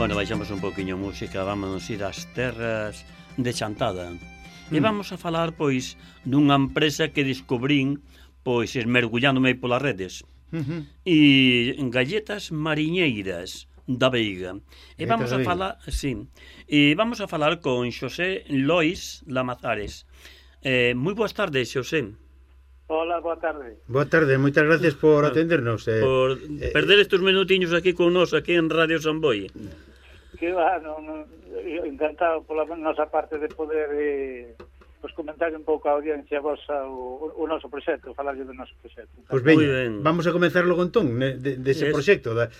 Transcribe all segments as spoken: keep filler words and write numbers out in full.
Bueno, baixamos un poquinho música, vámonos ir ás terras de Chantada. Mm. E vamos a falar, pois, dunha empresa que descubrín, pois, esmergullándome polas redes. Uh-huh. E galletas mariñeiras da Veiga. E vamos a falar, sí, e vamos a falar con Xosé Lois Lamazares. Eh, moi boas tardes, Xosé. Hola, boa tarde. Boa tarde, moitas gracias por atendernos. Eh, por eh, perder estes minutiños aquí con nos, aquí en Radio Samboy. Que va, no, no, encantado pola nosa parte de poder eh, pues comentar un pouco a audiencia vosa o, o noso proxecto, falarlle do noso proxecto. Pois pues ben, vamos a comenzar logo entón de, de ese proxecto, da,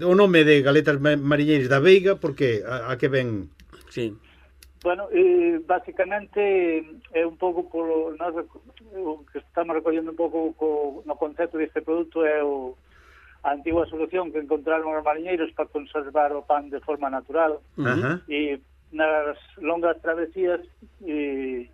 o nome de Galetas Mariñeiras da Veiga, porque a, a que ven... Sí. Bueno, eh, basicamente é un pouco polo, nós, o que estamos recollendo un pouco co, no concepto deste produto é o, a antigua solución que encontraron os mariñeiros para conservar o pan de forma natural. Uh-huh. E nas longas travesías e,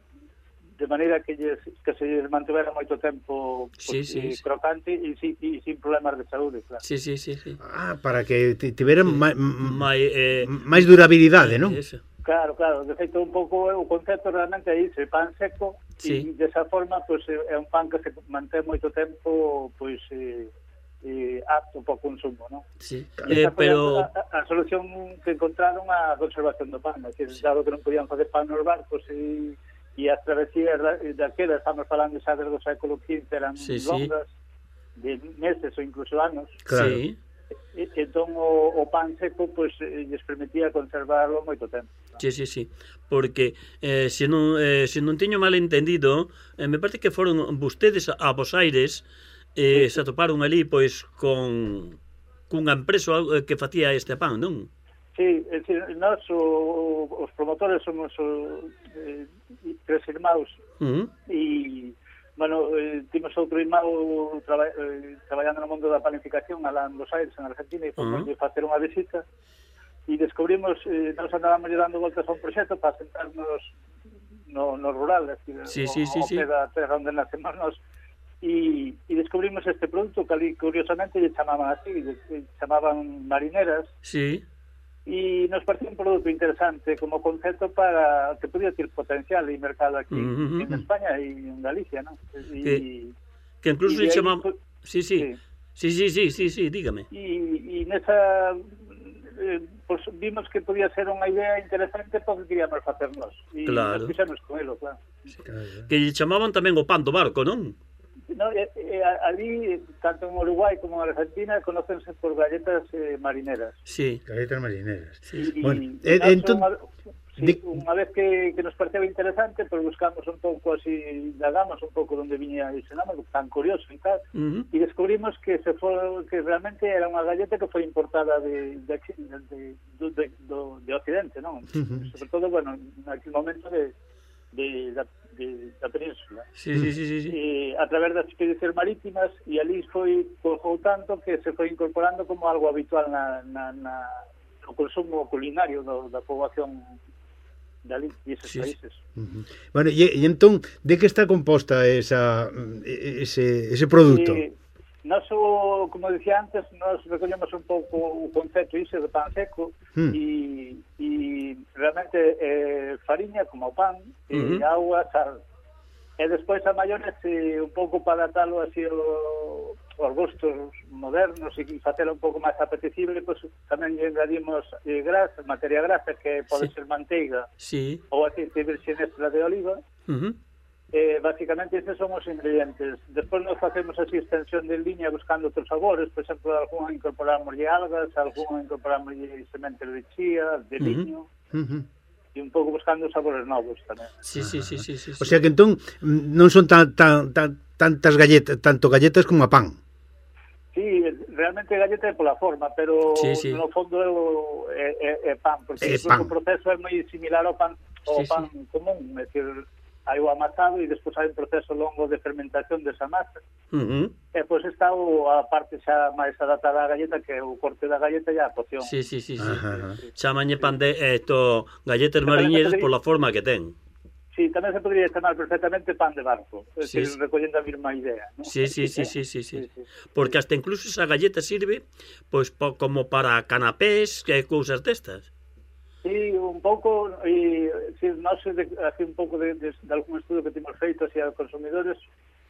de maneira que, lles, que se lles mantivera moito tempo sí, pues, sí, eh, sí. crocante e, e sin problemas de saúde, claro. Sí, sí, sí, sí. Ah, para que tiveran sí. máis eh, durabilidade, non? Eso. Claro, claro, de feito un pouco o concepto realmente é iso, pan seco, sí. E desa forma pues, é un pan que se mantén moito tempo pois eh, eh, apto para o consumo, non? Sí. Eh, pero a, a, a solución que encontraron a conservación do pan, que sí. Dado que non podían facer pan nos barcos e, e as travesías daquela, estamos falando xa desde o século quince, eran sí, longas, sí. de meses ou incluso anos. Claro. Sí. E, entón o, o pan seco pois pues, lles permitía conservarlo moito tempo, ¿no? Sí, sí, sí, porque eh, se, non, eh, se non teño mal entendido, eh, me parece que foron vostedes a Bos Aires eh, sí, sí. Se atoparon ali pois con cunha empresa que facía este pan, non? Sí, é dicir, nós o, os promotores somos o, eh, tres irmãos uh-huh. E bueno, eh, timos outro irmão traba, eh, traballando no mundo da planificación alá en Bos Aires, en Argentina, e fomos uh-huh. facer unha visita e descubrimos, eh, nos andábamos dando voltas a un proxecto para sentarnos no, no rural, decir, sí, o, sí, sí, o sí. da terra onde nacemos nos, e, e descubrimos este produto que ali curiosamente lle chamaban así, lle chamaban marineras. Sí. E nos parecía un produto interesante como concepto para que podía ter potencial e mercado aquí uh-huh. en España e en Galicia, ¿no? E, que, que incluso se chama... Pues, sí, sí, sí, sí, sí, sí, sí, dígame. E nesa... Eh, pues vimos que podía ser unha idea interesante porque queríamos facernos. E claro. Nos fixemos con elo, claro. Sí. Que lle chamaban tamén o pan do barco, non? No, eh, eh, ali, tanto en Uruguai como en Argentina, conócense por galletas eh, marineras. Sí. Galletas marineras. Sí. Y, bueno, y eh, entón... Unha, sí, de... unha vez que, que nos pareceu interesante, pues buscamos un pouco así, indagamos un pouco onde viña ese nome, tan curioso e tal, uh-huh. E descubrimos que se foi, que realmente era unha galleta que foi importada de, de, de, de, de, de, de Occidente, non? Uh-huh. Sobre todo, bueno, naquele momento de, de, de De, da península. Sí, sí, sí, sí, sí. E, a través das expedicións marítimas, e ali foi colgou tanto que se foi incorporando como algo habitual na, na, na no consumo culinario do, da poboación dali, esos sí, países. Uh-huh. Bueno, e, e entón, de que está composta esa, ese, ese produto? E, nós, o, como dicía antes, nós recollemos un pouco o concepto iso de pan seco mm. e, e realmente eh, fariña como pan, uh-huh. E agua, sal. E despois a maiores eh, un pouco para adaptalo así o, os gustos modernos e facelo un pouco máis apetecible, pois pues, tamén engadimos eh, grasa, materia grasa que pode sí. Ser manteiga sí. Ou aceite virgen extra de oliva. Uh-huh. Eh, basicamente esos son os ingredientes. Despois nos facemos así extensión de línea buscando outros sabores, por exemplo, algún incorporamos algas, algún incorporamos sementes de chía, de liño, uh-huh. E un pouco buscando sabores novos tamén. Sí, sí, sí, sí, sí, sí. O sea que entón non son tan, tan, tan tantas galletas, tanto galletas como a pan. Sí, realmente galleta é pola forma, pero sí, sí. No fondo é, é, é pan, porque é pan. O proceso é moi similar ao pan, ao sí, pan sí. común, é dicir, hai o amasado e despois hai un proceso longo de fermentación desa masa. Uh-huh. E pois está o, a parte xa máis adaptada á galleta, que é o corte da galleta e a poción. Sí, sí, sí, sí. sí. Chamañe pan de esto, galletas mariñeiras pola forma que ten. Sí, tamén se podría chamar perfectamente pan de barco, es sí, decir, sí. recollendo a mesma idea, ¿no? Sí, sí, sí, sí, sí, sí. sí, sí. Porque hasta incluso esa galleta sirve pois po, como para canapés e cousas destas. Sí, un pouco, e si, non sei, de, así un pouco de, de, de algún estudo que temos feito así a consumidores,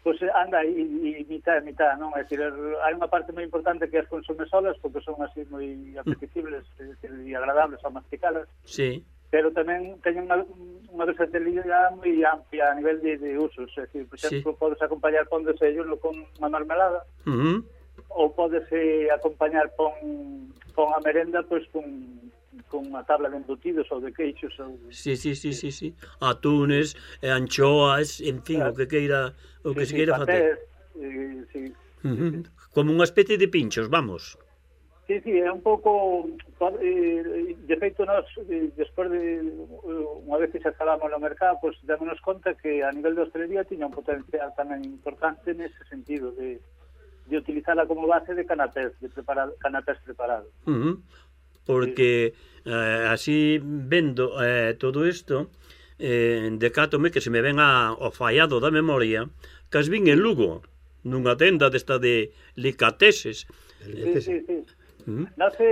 pois pues anda e, e mitad e mitad, non? É dicir, hai unha parte moi importante que as consume solas porque son así moi apetecibles e agradables ao masticalas. Sí. Pero tamén teñen unha, unha versatilidade moi amplia a nivel de, de usos, é dicir, por exemplo, sí. Podes acompañar pon de desayuno con unha marmelada, uh -huh. ou podes eh, acompañar pon, pon a merenda pois pues, con con unha tabla de embutidos ou de queixos ou... Sí, sí, sí, sí, sí. Atunes, anchoas, en fin, claro. O que queira o que sí, se queira facer. Eh, sí, uh -huh. sí, sí. Como unha especie de pinchos, vamos. Sí, sí, é un pouco eh, de feito nós eh, despois de unha vez que xa estábamos no mercado, pois pues, démonos conta que a nivel de hostelería tiña un potencial tamén importante nese sentido de, de utilizarla como base de canapés, de preparar canapés preparados. Uh -huh. Porque eh, así vendo eh, todo isto, eh, decátome que se me ven a, ao fallado da memoria que as vin en Lugo, nunha tenda desta de licateses. Sí, sí, sí. ¿Mm? No sé,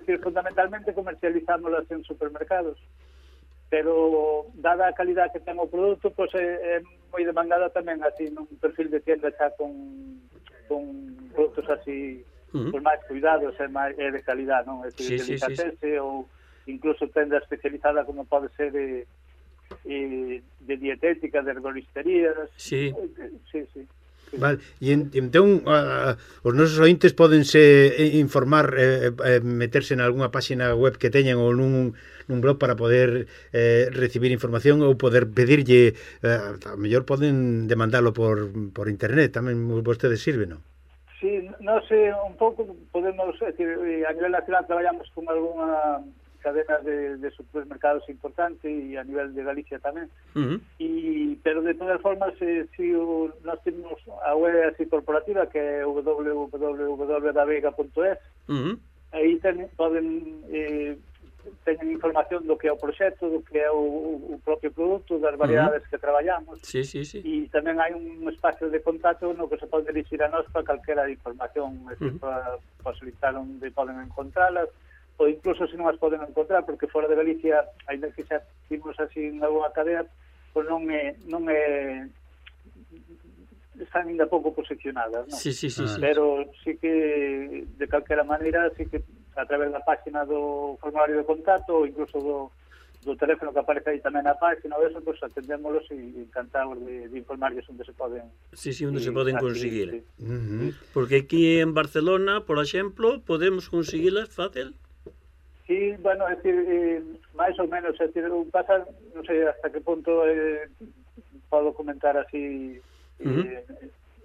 decir, fundamentalmente comercializámolas en supermercados, pero dada a calidad que ten o produto, pues, é, é moi demandada tamén así nun perfil de tienda xa con, con produtos así... Uh -huh. Por máis cuidados e máis é de calidad, non? É sí, de sí, delicatese sí, sí. Ou incluso tenda especializada como pode ser de, de, de dietética, de herboristerías. Sí. Sí, sí. Vale, e entón uh, os nosos ointes pódense informar, eh, eh, meterse en algunha página web que teñan ou nun, nun blog para poder eh, recibir información ou poder pedirlle, eh, a mellor poden demandalo por, por internet, tamén vostedes sirven, non? Sí, non sei, un pouco podemos, é dicir, a nivel nacional traballamos con algunha cadena de, de supermercados importante e a nivel de Galicia tamén. Uh -huh. E, pero de todas formas, eh, si o, nós temos a web así corporativa que é w w w punto davega punto es, uh -huh. aí ten, poden eh, teñen información do que é o proxecto, do que é o, o propio produto, das variedades uh -huh. que traballamos. Sí, sí, sí. E tamén hai un espacio de contacto no que se pode dirigir a nós para calquera información, uh -huh. para, para solicitar onde poden encontralas, ou incluso se non as poden encontrar, porque fora de Galicia, ainda que xa vimos así en algunha cadea, pois non é, non é están ainda pouco posicionadas, non? Sí, sí, sí, sí. Pero sí que de calquera maneira, sí que a través da página do formulario de contacto ou incluso do, do teléfono que aparece aí tamén na página ou eso, pues atendémolos e encantados de, de informarles onde se poden... Sí, sí, onde se poden conseguir. Sí. Uh -huh. Porque aquí en Barcelona, por exemplo, podemos conseguilas fácil? Sí, bueno, é dicir, eh, máis ou menos, é dicir, pasa, non sei hasta que punto eh, podo comentar así... Uh -huh. eh,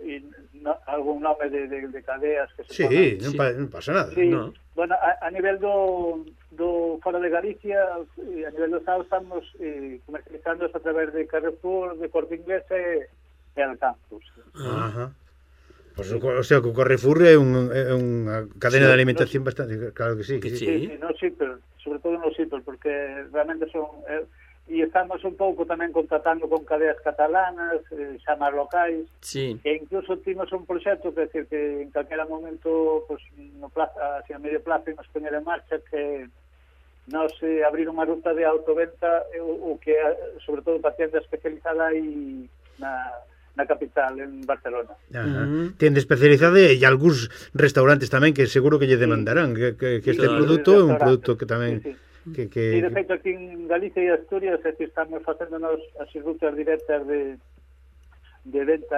e no, algún nome de, de, de cadeas que se sí, ponen. non, pa, non pasa nada. Sí, no. Bueno, a, a nivel do, do fora de Galicia, a nivel do Estado estamos eh, comercializando a través de Carrefour, de Corte Inglés e, e Alcampus. Ajá. Pues, sí. O sea, que o Carrefour é un, unha cadena sí, de alimentación no, bastante, claro que sí. Que sí, sí, sí, sí no Xipper, sobre todo no Xipper, porque realmente son... Eh, e estamos un pouco tamén contratando con cadeas catalanas, eh, xa máis locais, sí. E incluso timos un proxecto que, decir, que en calquera momento pues, no plaza, así a medio plazo nos poñer en marcha que nos eh, abrir unha ruta de autoventa o, o que sobre todo para tienda especializada e na, na capital, en Barcelona. Ajá. Uh -huh. Tienda especializada e algúns restaurantes tamén que seguro que lle demandarán que, que, que este claro. Produto é un produto que tamén... Sí, sí. Que, que... E de feito aquí en Galicia e Asturias é que estamos facéndonos as rutas directas de, de venta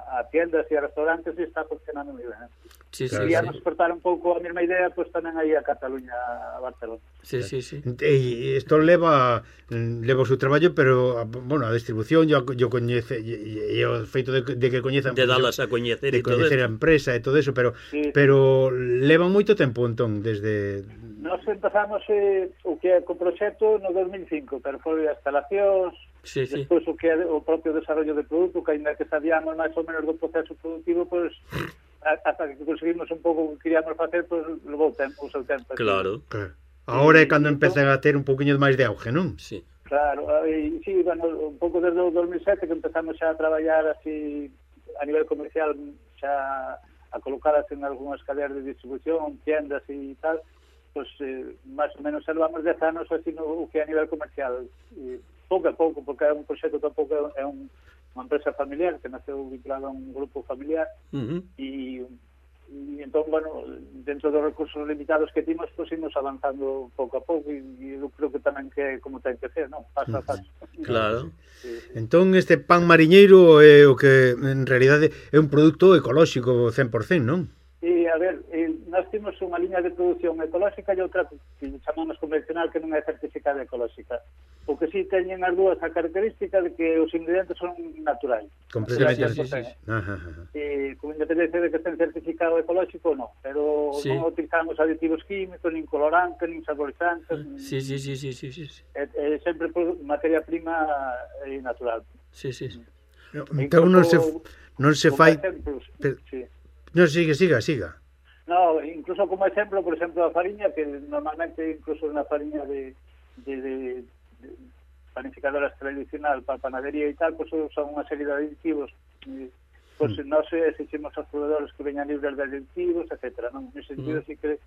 a tiendas e a restaurantes e está funcionando moi ben. Sí, sí, e sí. íamos portar un pouco a mesma idea pues, tamén aí a Cataluña, a Barcelona. Sí, sí, sí. E isto leva leva o seu traballo, pero bueno, a distribución yo, yo coñece e o feito de, de que coñezan de dalas a coñecer de coñecer a empresa e todo eso, pero sí, pero sí. Leva moito tempo entón desde Nos empezamos eh, o que é co proxecto no dos mil cinco, pero foi as instalacións, sí, sí. Despois o que é o propio desarrollo de produto, que ainda que sabíamos máis ou menos do proceso productivo, pois pues, hasta que conseguimos un pouco o que queríamos facer, pois pues, levou tempo, o seu tempo. Claro. Claro. Agora é cando empezan a ter un poquinho máis de auge, non? Sí. Claro, e, sí, bueno, un pouco desde o dos mil sete que empezamos xa a traballar así a nivel comercial, xa a colocadas en algunhas cadeas de distribución, tiendas e tal, pues eh, máis ou menos salvamos dez anos así no que a nivel comercial. E, pouco a pouco, porque é un proxecto tampouco é un, unha empresa familiar que naceu vinculada a un grupo familiar uh-huh. e e entón, bueno, dentro dos recursos limitados que timos, pues imos avanzando pouco a pouco e, e eu creo que tamén que como ten que ser, non? Paso a paso. Claro. Sí. Entón, este pan mariñeiro é o que, en realidade, é un produto ecolóxico cen por cento, non? E, a ver, eh, nós temos unha liña de produción ecolóxica e outra que chamamos convencional que non é certificada ecolóxica. O que sí teñen as dúas a característica de que os ingredientes son naturais. Completamente. Sí, sí, sí. Ajá, ajá. E, con independencia de que estén certificado ecolóxico, non. Pero sí. non utilizamos aditivos químicos, nin colorantes, nin saborizantes. Sí, sí, sí, sí, sí, sí. É, é sempre materia prima é natural. Sí, sí, sí. Entón non se, non se fai... Exemplos, pero... sí. Non, siga, siga, siga. No, incluso como exemplo, por exemplo, a fariña, que normalmente incluso na fariña de, de, de, de panificadoras tradicional para panadería e tal, pues son unha serie de aditivos. E, pues mm. non se exigimos aos proveedores que veñan libres de aditivos, etcétera. Non? En ese sentido, mm. sí que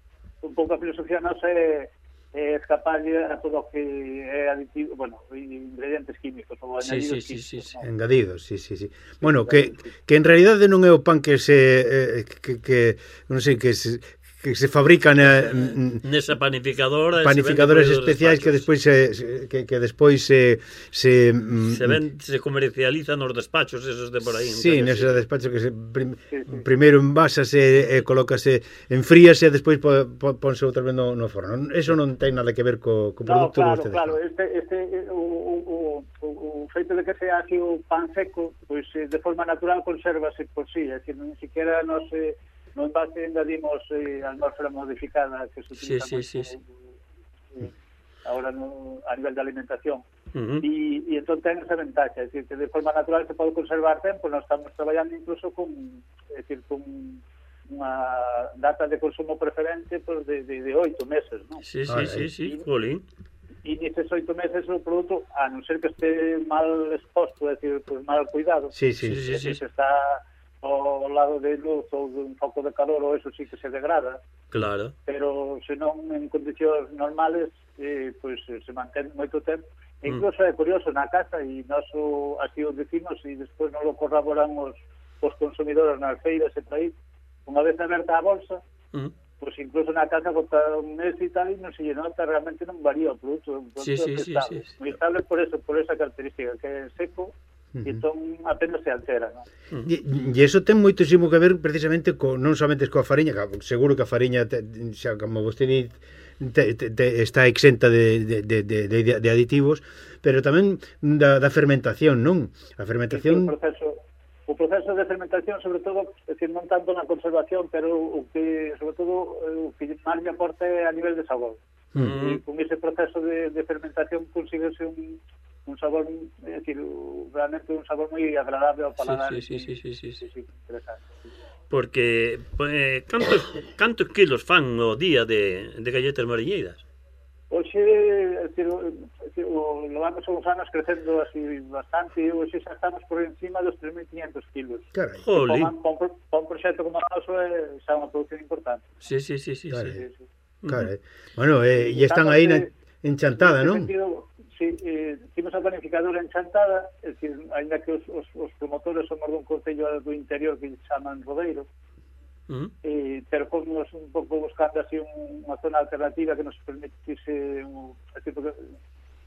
un pouco a filosofía non se é escaparlle a todo o que é aditivo, bueno, ingredientes químicos ou sí, añadidos sí, químicos. Sí, sí, sí. ¿no? Engadidos, sí, sí, sí. Bueno, que, que en realidade non é o pan que se eh, que, que non sei, que se que se fabrican eh, nesa panificadora, panificadoras especiais que despois se, que, que despois se se, se, ven, se comercializan nos despachos esos de por aí. Sí, neses sí. despachos que se prim, sí, sí. primeiro envásase e eh, colócase, enfríase e despois po, po, ponse outra vez no, no forno. Eso non ten nada que ver co, co produto no, claro, que vostedes. Claro, este, este o, o, o, o feito de que sea así o pan seco, pois pues, de forma natural consérvase por sí, é dicir, nin siquiera non se no envase engadimos eh, atmósfera modificada que se utiliza sí, sí, sí, sí. Eh, ahora no, a nivel de alimentación. Uh-huh. E, e entón ten esa ventaxa, é dicir, que de forma natural se pode conservar tempo, nós estamos traballando incluso con, é dicir, con unha data de consumo preferente pues, de, de, de oito meses, non? Sí, sí, sí, sí, jolín. E neses oito meses o produto, a non ser que este mal exposto, é dicir, pues, mal cuidado, sí, sí, sí, sí, sí, se está ao lado de luz ou de un foco de calor, ou eso sí que se degrada. Claro. Pero se non en condicións normales, eh, pois pues, se mantén moito tempo. E incluso mm. é curioso na casa, e nós o, así o decimos, e despois non lo corroboran os, os consumidores nas feiras e por aí, unha vez aberta a bolsa, mm. pois pues incluso na casa bota un mes e tal, e non se lle nota, realmente non varía o produto. O produto sí, sí, é estable. Sí, sí. Moi estable por eso, por esa característica, que é seco, e entón apenas se altera, non? E, e iso ten moitísimo que ver precisamente co, non somente coa fariña, seguro que a fariña te, xa como vostede te, te, te, está exenta de, de, de, de, de aditivos, pero tamén da, da fermentación, non? A fermentación... O proceso, o proceso de fermentación, sobre todo, é dicir, non tanto na conservación, pero o que, sobre todo, o que máis me aporta é a nivel de sabor. Mm. E con ese proceso de, de fermentación consíguese un un sabor, é dicir, realmente un sabor moi agradable ao paladar. Sí, sí, sí, sí, sí, sí, sí. Interesante. Sí. Porque eh, cantos, cantos kilos fan o día de, de galletas mariñeiras? Hoxe, é dicir, o, lo vamos uns anos crecendo así bastante, e hoxe xa estamos por encima dos tres mil quinientos kilos. Carai. Jolín. Para un, un proxecto como o noso é xa unha producción importante. Sí, sí, sí, sí. Carai. Sí, sí. Carai. Bueno, eh, e están aí na, en Chantada, non? Sentido, sí, eh, temos a planificadora en Chantada, é dicir, ainda que os, os, os promotores somos dun concello do interior que chaman Rodeiro, uh-huh. eh, pero fomos un pouco buscando así un, unha zona alternativa que nos permitise un, así, porque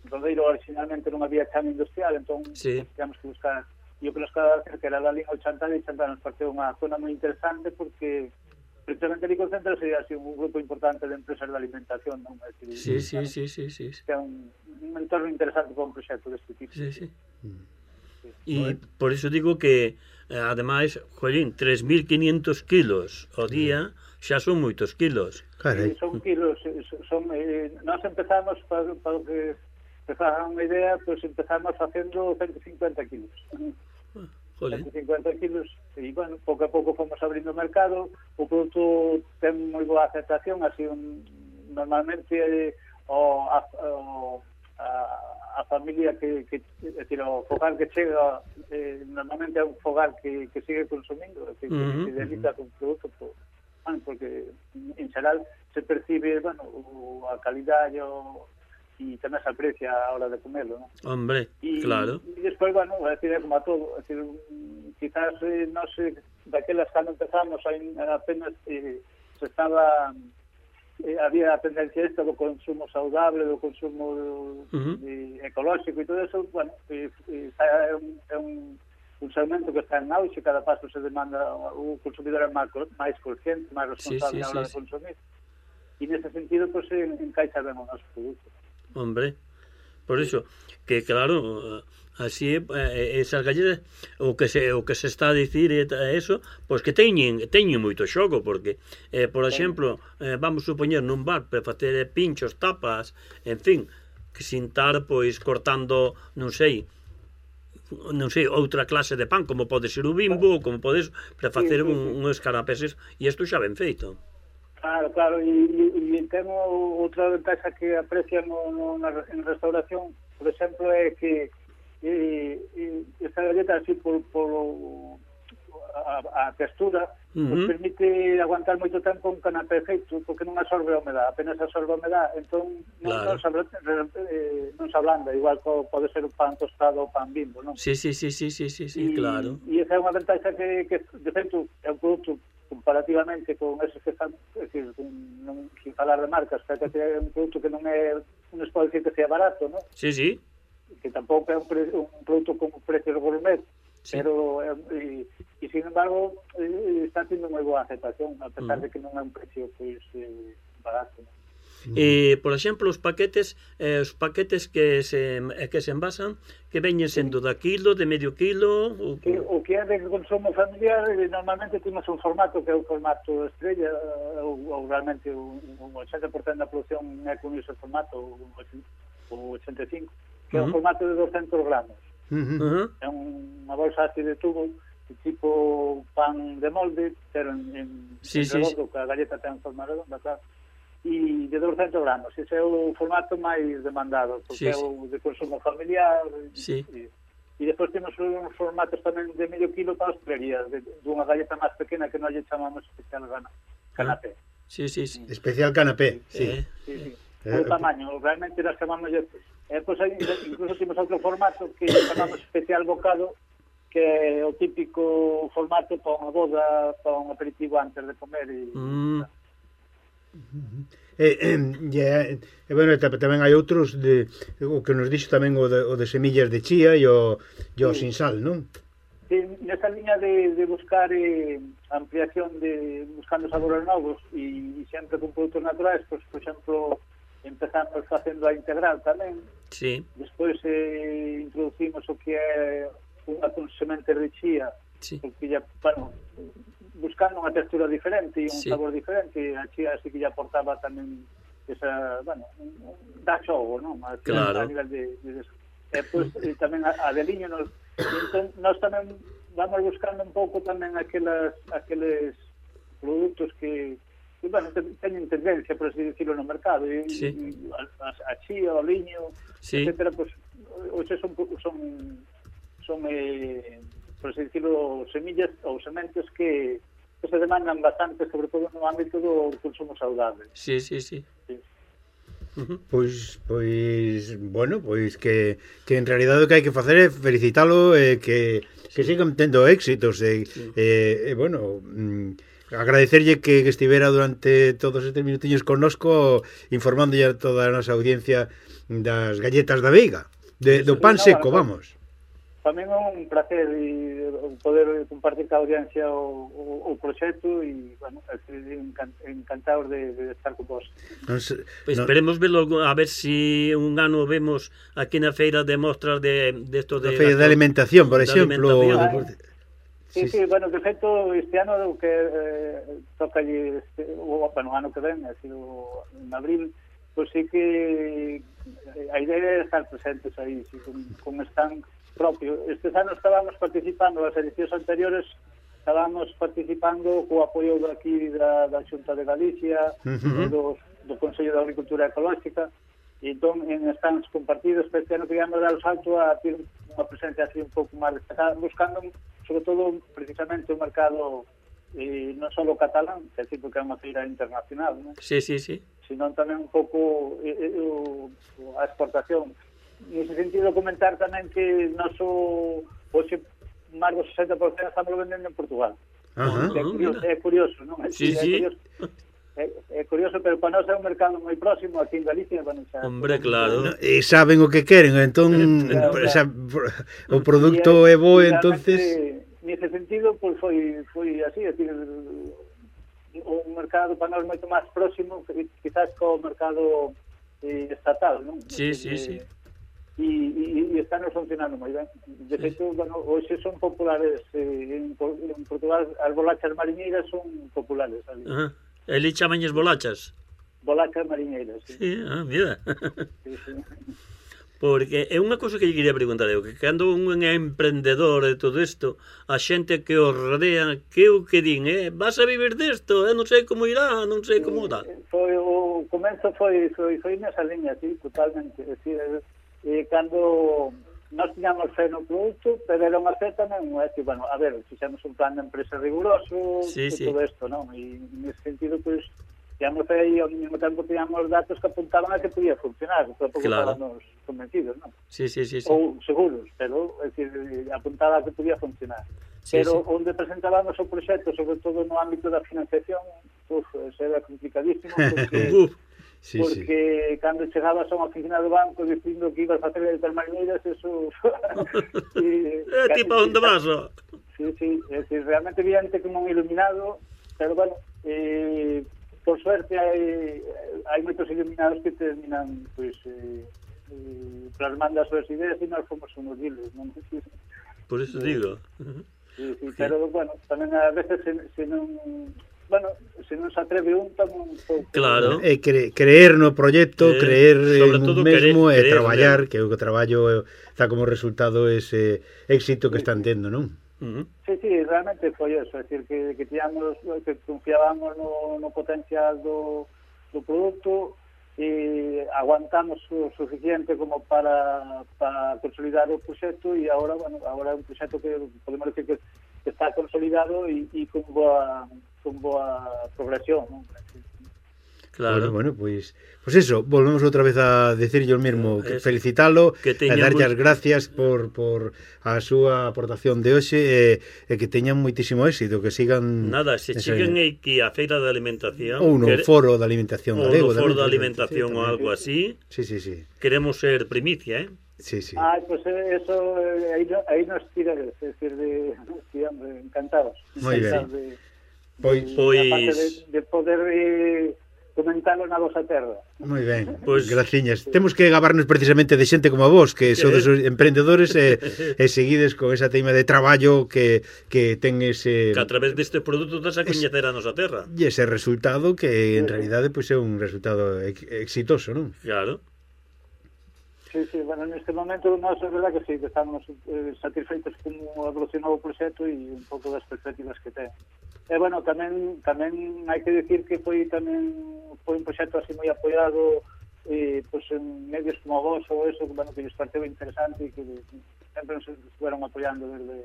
Rodeiro originalmente non había chama industrial, entón sí. Teníamos que buscar, e o que nos quedaba cerca era la liga Chantada, e Chantada nos pareceu unha zona moi interesante porque precisamente ali concentrase así un grupo importante de empresas de alimentación, non? É dicir, sí, sí, sí, sí, sí, sí. Que é un, un entorno interesante para un proxecto deste tipo. Sí, sí. E sí. Por iso digo que ademais, jolín, tres mil quinientos kilos ao día xa son moitos kilos. Carai. Son kilos, son, eh, nós empezamos para, para que se fagan unha idea, pois pues empezamos facendo ciento cincuenta kilos. ciento cincuenta kilos, e, bueno, pouco a pouco fomos abrindo o mercado, o produto ten moi boa aceptación, así, un, normalmente, o, a, o, a, a familia que, que é dicir, o fogar que chega eh, normalmente é un fogar que, que sigue consumindo, é dicir, que uh -huh. se dedica con produto por, bueno, porque en xeral se percibe, bueno, o, a calidade o, e tamén se aprecia a hora de comerlo, ¿no? Hombre, y, claro. E despois, bueno, é dicir, é como a todo, é dicir, quizás eh, non sei, daquelas cando empezamos aí apenas eh, se estaba eh, había a tendencia esta do consumo saudable, do consumo uh -huh. de, ecolóxico e todo eso, bueno, eh, eh, é un, é un, un segmento que está en auxe, cada paso se demanda, o consumidor é máis, máis consciente, máis responsable sí, sí, a hora sí, de consumir, e nese sentido, pues, se encaixa ben o noso produto. Hombre, por iso, que claro, así eh, esas galletas, o que se o que se está a dicir e eso, pois que teñen teñen moito xogo, porque eh, por exemplo, eh, vamos supoñer nun bar para facer pinchos, tapas, en fin, que sin estar pois cortando, non sei, non sei, outra clase de pan, como pode ser o Bimbo, como podes para facer sí, sí, sí. un, uns canapeses, e isto xa ben feito. Claro, claro, e, e, e temos outra ventaja que aprecian no, no, na, en restauración, por exemplo, é que e, e, esta galleta así por, por a, a textura uh -huh. pues permite aguantar moito tempo un canapé feito, porque non absorbe a humedad, apenas absorbe a humedad, entón claro. non, non, se, eh, non se ablanda, igual que pode ser un pan tostado ou pan Bimbo, non? Sí, sí, sí, sí, sí, sí, sí, y, claro. E esa é unha ventaja que, que de feito, é un produto comparativamente con esos que están, é dicir, non, sin falar de marcas, que é un produto que non é, non se pode dicir que sea barato, non? Sí, sí. Que tampouco é un, pre, un produto con precios gourmet, sí. pero e, e sin embargo e, está tendo moi boa aceptación, a pesar mm. de que non é un precio pois eh, barato, non? E, por exemplo, os paquetes eh, os paquetes que se que se envasan, que veñen sendo da kilo, de medio kilo, o que, o que é de consumo familiar, normalmente temos un formato que é o formato estrella, ou, ou realmente un, un ochenta por cento da produción é con ese formato, o ochenta e cinco por cento, que é uh -huh. o formato de doscentos gramos. Uh -huh. É unha bolsa así de tubo, de tipo pan de molde, pero en, en, sí, en redondo, sí, que a galleta ten forma redonda, claro, e de doscentos gramos. Ese é o formato máis demandado, porque sí, é o de consumo familiar. Sí. E, e depois temos uns formatos tamén de medio kilo para hostelería, de, de unha galleta máis pequena que nós lle chamamos especial canapé. Ah. Sí, sí, sí. Especial canapé, sí. Sí, sí, sí. O tamaño, realmente las chamamos... Eh, pues, incluso temos outro formato que chamamos especial bocado, que é o típico formato para unha boda, para un aperitivo antes de comer. E, mm. Eh, eh, yeah, eh, bueno, tamén hai outros de, o que nos dixo tamén o de, o de semillas de chía e o, e o sí. sin sal, non? Sí, nesa liña de, de buscar eh, ampliación de buscando sabores novos e, e sempre con produtos naturais, pues, por exemplo, empezamos facendo a integral tamén. Sí. Despois eh, introducimos o que é unha con sementes de chía, sí, porque ya, bueno, buscando unha textura diferente e un sí. sabor diferente, a chía así que ya aportaba tamén esa, bueno, da xogo, non? A, claro. A nivel de, de eso. E pois pues, tamén a, a de liño nos, entón, nos tamén vamos buscando un pouco tamén aquelas aqueles produtos que, que bueno, teñen tendencia, por así decirlo, no mercado, e, sí. e a, a chía, o liño, sí. etcétera, pues, hoxe son son son eh, por así decirlo, semillas ou sementes que, que se demandan bastante, sobre todo no ámbito do consumo saudable. Sí, sí, sí. sí. Uh-huh. Pois, pois, bueno, pois que, que en realidade o que hai que facer é felicitalo e eh, que, que sí. sigan tendo éxitos e, sí. eh, eh, bueno, mm, agradecerlle que, que estivera durante todos estes minutiños connosco informando a toda a nosa audiencia das galletas da Veiga, de, do pan seco, vamos. Tamén é un placer e poder compartir ca audiencia o, o, o proxecto e, bueno, encantado de, de estar con vos. No sé, pues no, esperemos verlo, a ver si un ano vemos aquí na feira de mostras de, de esto de... La feira de alimentación, por exemplo. Ah, sí, sí, sí, bueno, de feito, este ano que eh, toca allí, este, o, bueno, o ano que ven, así, o, en abril, pues sí que a idea é estar presentes aí, sí, con, con stand propio. Estes anos estábamos participando, as edicións anteriores estábamos participando co apoio daqui da, da Xunta de Galicia, uh -huh. do, do Consello de Agricultura Ecolóxica, E entón, en stands compartidos, este ano queríamos dar o salto a ter unha presencia así un pouco máis destacada, buscando, sobre todo, precisamente o mercado eh, non só catalán, que é tipo que é unha feira internacional, non? Sí, sí, sí. Sino tamén un pouco eh, eh, o, a exportación. Nese sentido, comentar tamén que noso, hoxe, máis do sesenta por cento estamos vendendo en Portugal. Ajá. É curioso, é curioso, non? É, Sí, é sí. curioso. É, é curioso, pero para nós é un mercado moi próximo aquí en Galicia. Bueno, xa, Hombre, claro. No, e saben o que queren, entón Claro, claro. esa, o produto é bo, e entonces realmente, nese sentido, pois foi foi así, é dicir, o mercado para nós moito máis próximo que quizás co mercado eh, estatal, non? Sí, sí, sí. E, e, e están funcionando moi ben. De feito, bueno, hoxe son populares eh, en, en Portugal, as bolachas mariñeiras son populares ali. Ajá. Eli chamañes bolachas. Bolachas mariñeiras, sí. Sí, ah, mira. Sí, sí. Porque é unha cousa que lle quería preguntar eu, que cando un é emprendedor e todo isto, a xente que o rodea, que o que din, eh, vas a vivir disto, eh, non sei como irá, non sei como dá. Foi, o comezo foi, foi, foi nesa liña, sí, totalmente. É dicir, eh, cando nós tiñamos fe no produto, pero era unha fe tamén, é dicir, bueno, a ver, fixemos un plan de empresa riguroso, Sí, e sí. todo isto, non? E nesse sentido, pois, tiñamos fe e ao mesmo tempo tiñamos datos que apuntaban a que podía funcionar, tampouco Claro. estábamos convencidos, non? Sí, sí, sí, sí. Ou seguros, pero, é dicir, apuntaba a que podía funcionar. Sí, Pero sí. onde presentábamos o proxecto, sobre todo no ámbito da financiación, uf, eso era complicadísimo, porque... Uf, sí, sí. porque cando chegabas a unha oficina do banco dicindo que ibas a facer de termarineiras, eso... eh, tipo, onde vas? Oh? Sí, sí, é decir, realmente viante como un iluminado, pero bueno, eh, por suerte hai, hai moitos iluminados que terminan, pois, eh, eh, plasmando as súas ideas e nós fomos unos diles, non? Sí, Por eso digo. sí, sí, pero, bueno, tamén a veces se, se non... Bueno, se non se atreve un, tamén un pouco... Claro. É cre creer no proxecto, Eh, creer sobre en todo un mesmo querer- e querer, traballar, né? que o traballo está como resultado ese éxito que están tendo, non? Uh -huh. Sí, sí, realmente foi eso, é dicir, que, que tíamos, que confiábamos no, no potencial do, do produto e aguantamos o suficiente como para, para consolidar o proxecto e agora, bueno, agora é un proxecto que podemos decir que, que está consolidado e, e con boa con boa progresión, non? Claro. Bueno, bueno, pois pues, pues eso, volvemos outra vez a decirlle o mesmo, que Es- felicitalo, que e teñamos- darlle as gracias por, por a súa aportación de hoxe e, e que teñan moitísimo éxito, que sigan Nada, se ese- cheguen aquí a feira de alimentación, ou no quere- foro de alimentación ou galego, no foro tamén, de sí, alimentación sí, ou tamén. algo así, Sí, sí, sí. queremos ser primicia, eh? Sí, sí. Ah, pues eh, eso, eh, aí, no, aí nos tirades, é dicir, de, sí, hombre, encantados. Moi ben. Encantados de, Pois, de, Pois- aparte de, de poder eh, comentalo na vosa terra. moi ben, Pois- pues, graciñas. Temos que gabarnos precisamente de xente como a vos, que sodes os emprendedores e, e seguides con esa teima de traballo que, que ten ese... Que a través deste produto das a coñecer a nosa terra. E ese resultado que en realidade pois, é un resultado ex exitoso, non? Claro. Sí, sí, bueno, neste momento nós é verdad que sí, que estamos eh, satisfeitos como evolucionou o proxecto e un pouco das perspectivas que ten. E bueno, tamén tamén hai que decir que foi tamén foi un proxecto así moi apoiado eh, pues, en medios como vos ou eso, bueno, que lles pareceu interesante e que sempre nos estuveron apoiando desde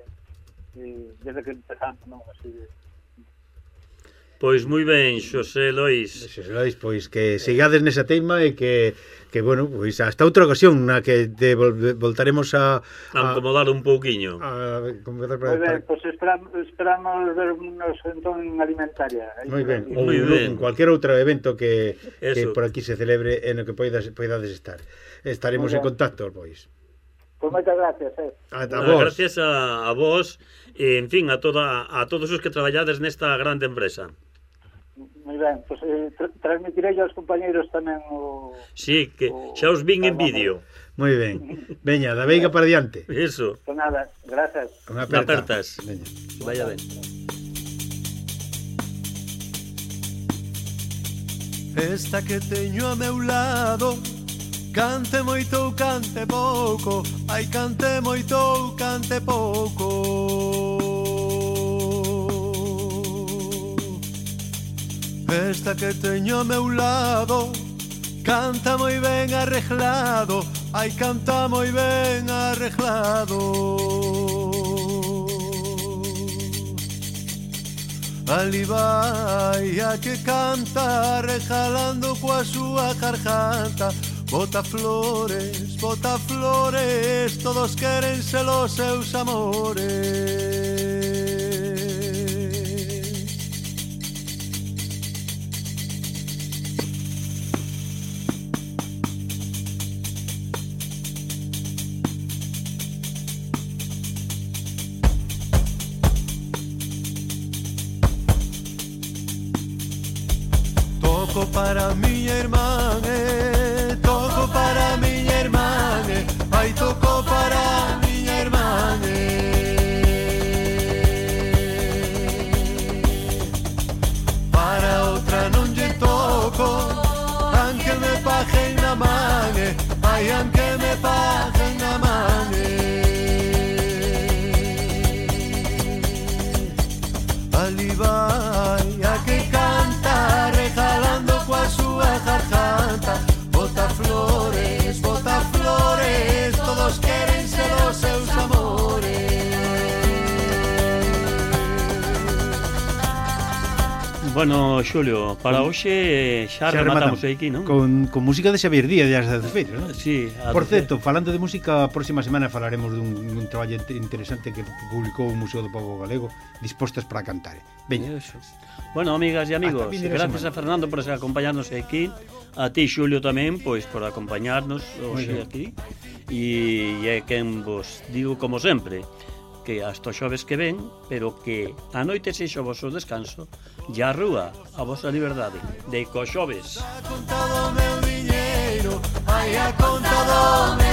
eh, desde que empezamos, non? Así de... Pois moi ben, Xosé Lois. Xosé Lois, pois que sigades nesa teima e que, que bueno, pois hasta outra ocasión na que te vol voltaremos a... A acomodar un pouquiño. A, acomodar Moi para, ben, pois esperamos, esperamos vernos entón en alimentaria. moi ben, ou Moi ben. en cualquier outro evento que, que Eso. por aquí se celebre en o que poidas, poidades estar. Estaremos Moi en ben. contacto, pois. Pois moitas gracias, eh. Ata Ah, vos. gracias a, a vos e, en fin, a toda a todos os que traballades nesta grande empresa. Moi ben, pois eh, tra transmitirei aos compañeiros tamén o... Sí, que o- xa os vin en vamos. vídeo. Moi ben. Veña, da veiga para diante. Eso, Pues nada, gracias. Unha na aperta. apertas. Veña. Vaya ben. Esta que teño a meu lado, cante moito ou cante pouco, ai cante moito ou cante pouco. Esta que teño a meu lado, canta moi ben arreglado, ai canta moi ben arreglado. Ali vai a que canta rejalando coa súa garganta. Bota flores, bota flores, todos queren ser os seus amores. Toco para miña irmán, eh, toco para miña irmán, eh, ai toco para miña irmán, eh. Para outra non lle toco, aunque me paguen na man, eh, ai aunque me paguen na man, eh. Ali vai a que canta regalando coa súa garganta. Bota flores, bota flores, todos queren ser os seus amores. Bueno, Xulio, para hoxe xa, xa rematamos aquí, non? Con, con música de Xavier Díaz das Adefeiras, non? Sí. Por certo, falando de música, a próxima semana falaremos dun, dun traballo interesante que publicou o Museo do Pobo Galego, Dispostas para cantar. Veña. Eso. Bueno, amigas e amigos, gracias a Fernando por acompañarnos aquí, a ti, Xulio, tamén, pois por acompañarnos hoxe aquí, e é quen vos digo, como sempre, que hasta os xoves que ven, pero que a noite sexa o vosso descanso e a rúa a vosa liberdade de co xoves. A conta do meu diñeiro, ai a conta do meu